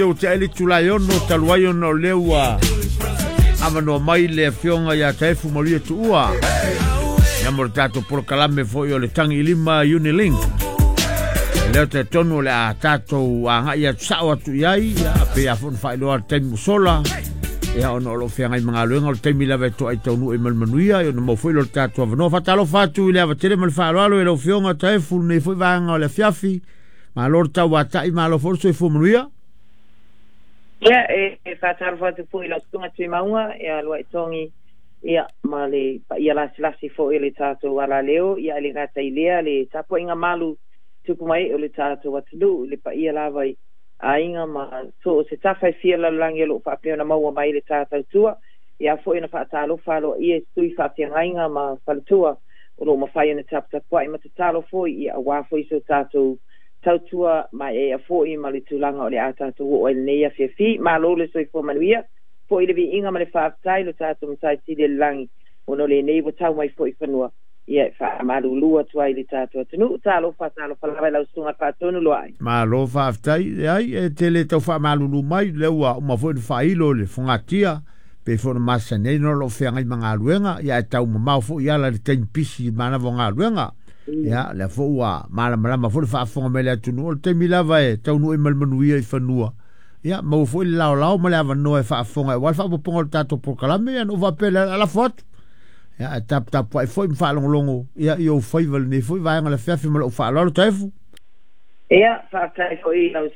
Ua tea le itula e 6 talu ai ona o lea ua avanoa mai le afioga ia Taefu Maluia Tuua ia mo le tatou polokalame foi o le Tagi i Lima Unilink. E lea talitonu o le a tatou agai atu sao atu i ai, ia, pei a foi ona faailoa le taimi ua sola, ia, ona o lo o feagai ma galuega o le taimi lava e toai taunuu i ma le manuia, ia ona maua foi lea o le tatou avanoa. Faatalofa atu i le ava tele ma le faaaloalo i lau afioga Taefu lenei foi vaega o le afiafi. Malo le tauatai, malo foi le soifua manuia. Ia, e faatalofa atu foi i lau susuga Tuimauga, ia Luaitogi, ia, ma le paia lasilasi foi o le tatou alaleo, ia, e le gata i lea le tapuaiga malu tupu mai o le tatou atunuu, i le paia lava i aiga ma so o se tafa e fia lalolagi o lo o faapea ona maua mai le ta tautua, ia foi ona faatalofa aloaia i sui faafeagaiga ma faletua o lo o mafai ona taputapuai ma tatalo foi, ia, aua foi so tatou tautua maeaea foi ma le tulaga o le a tatou oo ai lenei afiafi. Malo le soifua manuia, foi le viiga ma le faafetai lo tatou Matai Sili i le lagi, ona o lenei ua tau mai foi fanua, ia, e faamalulu atu ai le tatou atunuu. Talofa, talofa lava i lau susuga Faatonu Luai. Malo faafetai. Leai, e te le tau faamalulu mai, lea ua uma foi ona faailo le fogatia pei foi ona masani ai ona o lo o feagai ma galuega, ia ae tau mamao foi ala i le taimi pisi i manava o galuega. Ia, lea foi ua malamalama foi le faafofoga mai le atunuu, o le taimi lava e taunuu ai ma le manuia i fanua, ia maua foi le laolao ma le avanoa e faafofoga aua le faaopoopoga o le tatou polokalame, ia ona ou faapea lea, alafo atu. Ia, ae taputapuai foi ma faalogologo ia i ou faiva lenei foi vaega o le afiafi ma lou faaaloalo Taefu. Ia, faafetai foi i lau